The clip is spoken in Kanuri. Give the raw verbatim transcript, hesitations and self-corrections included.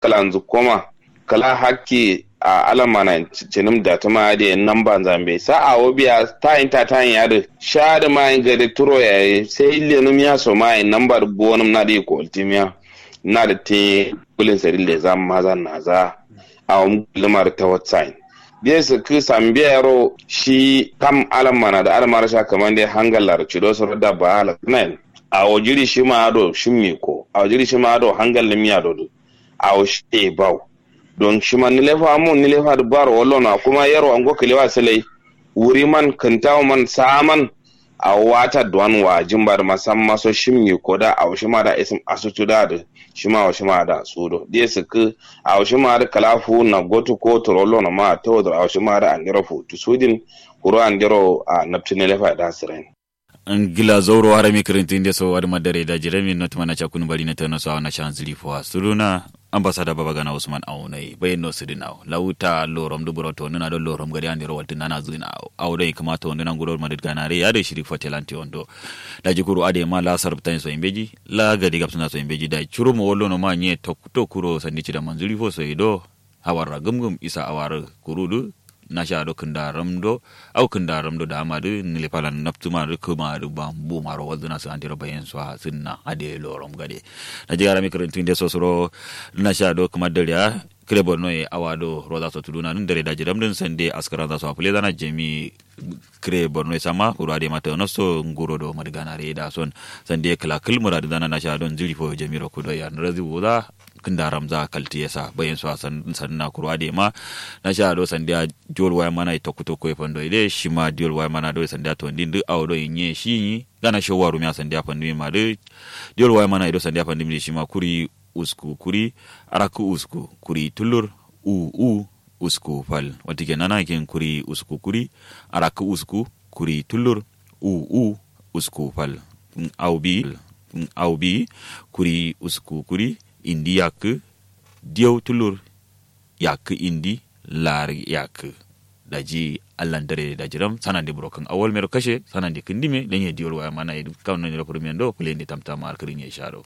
kǝlanzǝ koma kǝla hakki a alammana cinǝm datǝma adǝ ye nambanza mbeyi sa awo biya tayin tatayin adǝ sha adǝma ye gade turo yaye sai lenǝm ya soma ye namba dǝ bonǝm nadǝ ye koltǝm ya nadǝ tin ye gulin sadǝ leza mazan naza. Awom gulnǝma dǝ tawatsayin diye sǝkkǝ sambiya yero shi kam alammana dǝ adǝma dǝ sha kǝmande hangal lar cido soro dabba ala kǝnayin. Awo jiɍi shima ado shimmi ko awo jiɍi shima ado hangal nǝm ya do dǝ awo shiye bawo. Don shima nǝlefa amun nǝlefa dǝ baro wallo no akuma yerwa ngo kǝlewa sǝlai wuriman kǝntawoman saaman. Awo wata duwan wajin ba dǝ masamma so shimmi ko da awo shima da isǝm asutu da dǝ shima awo shima da sudo diye sǝkkǝ. Awo shima dǝ kǝla fuwun na gotu ko turo wallo no ma tawo dǝ awo shima da andero futu sudin kuru andero a naptu nǝlefa da sǝrain. Ngla zauro harami kǝrǝntǝ nde so adǝ ma dare da jirami notǝma na cakkunǝ bari na tano so awo na sha nzǝri fowa suduna. Ambasada baba gana usman awo nai bayin no sǝdǝ nawo lawuta lorom dǝ buro tondǝna do lorom gade andero waltǝ nana zǝna awo doi kǝma tondǝna nguro madǝt ganare adǝ shiri fotelan tewondo. Daji kuru adǝ ye ma la sarabtayin so ye mbeji la gade gabsǝna so ye mbeji dai curum wallo no ma nye tokto kuro sandi cida manzǝri fo so ye do. Hawarra gǝmgǝm isa awarǝ kuru dǝ nasha do kǝndaram do. Au kǝndaram do dama dǝ nǝlefalan naptǝma dǝ kǝma dǝ bambu maro walzǝna sǝ andero bayen so sǝnna adǝ ye lorom gade. Daji harami kǝrǝntǝ nde so suro nasha do kǝma dare a kǝre borno ye awa do roza so tǝduna dǝn dare daji ramdǝn sande askaranza so afǝlezana jami. Kǝre borno ye samma kuru adǝ ye ma tano so nguro do madǝganare ye da son. Sande kǝla kǝl muradǝ zana nasha do nzǝri fo jami ro kudo ya nǝrazi wuza. Kǝndaramza kaltǝ ye sa bayin so a sandǝna kuru adǝ ye ma nasha do sande a diwol waya mana ye tokku tokku ye fando ye de shima diwol waya mana do sande a tondin dǝ awo do ye nye shi nyi gana shawwa rumiya sande a fandǝ ye ma dǝ. Diwol waya mana ye do sande a fandǝ ye shima kuri usku kuri arakkǝ usku kuri tullur u u usku fal. Watǝ ke nana kin kuri usku kuri arakkǝ usku kuri tullur u u usku fal. Au bi au bi kuri usku kuri indi yakkǝ diyau tullur yakkǝ indi lar yakkǝ. Daji allan dare daji ram sanande buro kǝn awal mero kashe sanande kǝndime lenye diwol waya mana ye dǝ kam noniro fǝrǝm yendo fǝlende tamtama arkǝrin ye sharo.